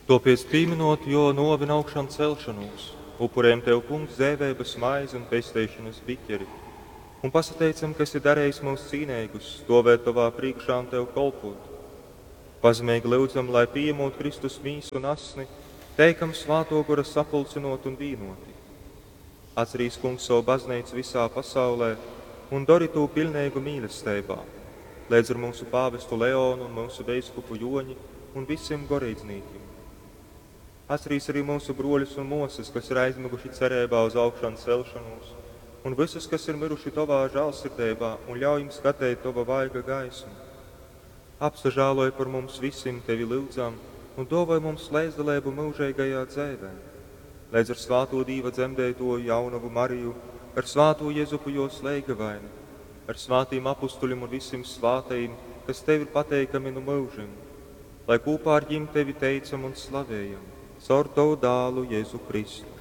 Tōpēc, pīmynot Jō nōvi un augšancelšonūs, upurejam Tev, Kungs, dzeiveibas maizi un pesteišonas biķeri, un pasateicam, ka esi darejis myus cīneigus, stōvēt Tovā prīškā un Tev kolpōt. Pazemeigi lyudzam, lai, pījamūt Kristus Mīsu un Asni, teikam Svātō Gora sapulcynōti un vīnōti. Atcerīs, Kungs, sovu Bazneicu vysā pasaulē un dori tū piļneigu mīlesteibā, leidz ar myusu pāvestu Leonu un myusu veiskupu Jōņi un visim goreidznīkim. Atcerīs arī myusu brōļus un mōsas, kas ir aizmyguši cereibā uz augšancelšonūs, un vysus, kas ir myruši Tovā žālsirdeibā, un ļauj jim skateit Tova vaiga gaismu. Apsažāloj par mums visim, Tevi lyudzam, un dōvoj mums leidzdaleibu myužeigajā dzeivē. Leidz ar svātū Dīva dzemdeitōju jaunovu Mariju, ar svātū Jezupu jōs leigavaini, ar svātīm apustuļim un visim svātajim, kas Tev ir pateikami nu myužim, lai kūpā ar jim Tevi teicam un slavējam, caur Tovu Dālu Jezu Kristu.